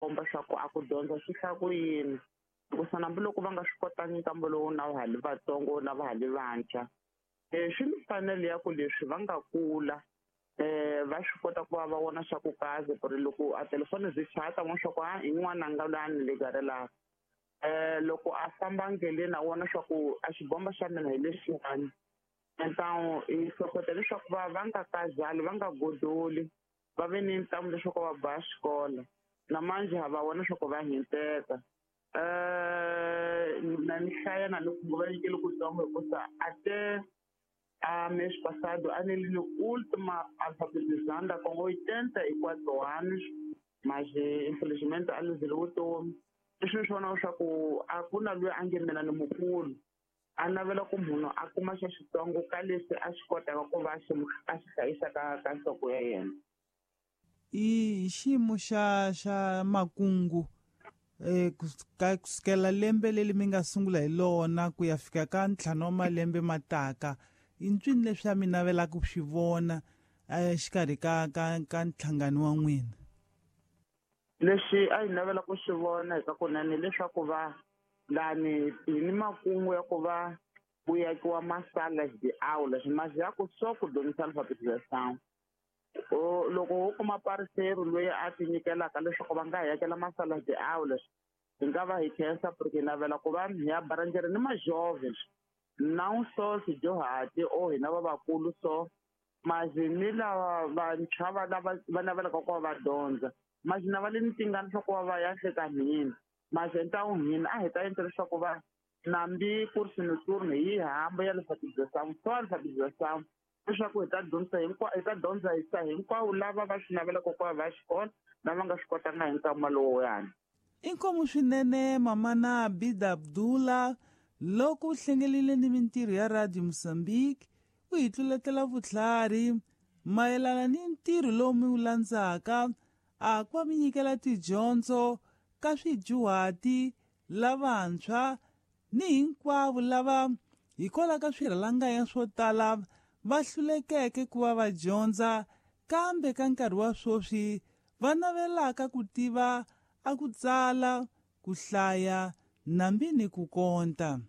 komba swa ku a ku dyondza swi hlaya ku yini hikusa hambiloko va nga swi kotangi nkambo lowu na va ha li vatsongo na va ha li vantshwa swi ni mfanelo ya ku leswi va nga kula va swi kota ku va va vona swa ku kaze ku ri loko a telefoni byi chaya ta vona swa ku a i n'wananga loyi a ni legarelaka loko a famba ndleleni a vona swa ku a xibomba xa mina hi lexiwani então hi hlohlota leswaku va va nga kazali va nga godoli va ve ni ntamu leswaku va ba xikolo na manje ha va vona leswaku va hinteka na ni hlaya na loko va nyikele kutsongo hikusa até a mês passado a nele no última alfabetizanda com 84 anos, mas infelizmente a luzile vutomi. Leswi ni swi vonaka swa ku a ku na loyi a nge mina ni mukulu a navela ku munhu a kuma xa xitsongo ka leswi a swi kotaka ku va a xi hlayisa ka nhloko ya yena. I xiyimo xa makungu kusukela lembe leri mi nga sungula hi lona ku ya fika ka 5 wa malembe mataka i ntswini leswi a mi navelaka ku swi vona exikarhi ka nhlangano wa n'wina? Leswi a hi navela ku swi vona hi ka kunene leswaku va lani hi ni makungu ya ku va ku yakiwa masala de aulas mas ya ku só ku dyondzisa alfabetização. Loko wo kuma parceiro loyi a ti nyikelaka leswaku va nga hi yakela masala de aulas hi nga va hi khensa porque hi navela ku va hi ya baranjere ni majovens não só swidyuhati o hina lavakulu so mas ni lava vantshwa va lava va navelaka ku va va dyondza mas na va le ni tingana swa ku va va ya hleka hina mas então hina a hi ta endla leswaku va nambi curso noturno hi hamba ya alfabetização só alfabetização leswaku hi ta dyondzisa hi ta dyondzisa hinkwavo lava va swi navelaka ku va va xikolo lava nga swi kotanga hi nkama lowuyani. Inkomu swinene mamana Abida Abdullah loko u hlengelile ni mintirho ya Radio Mozambique u hi tluletela vutlhari mayelana ni ntirho lowu mi wu landzaka a ku va mi nyikela tidyondzo ka swidyuhati lavantshwa ni hinkwavo lava hikwalaho ka swirhalanganya swo tala va hlulekeke ku va va dyondza kambe ka nkarhi wa sweswi va navelaka ku tiva a ku tsala ku hlaya nambi ni ku konta.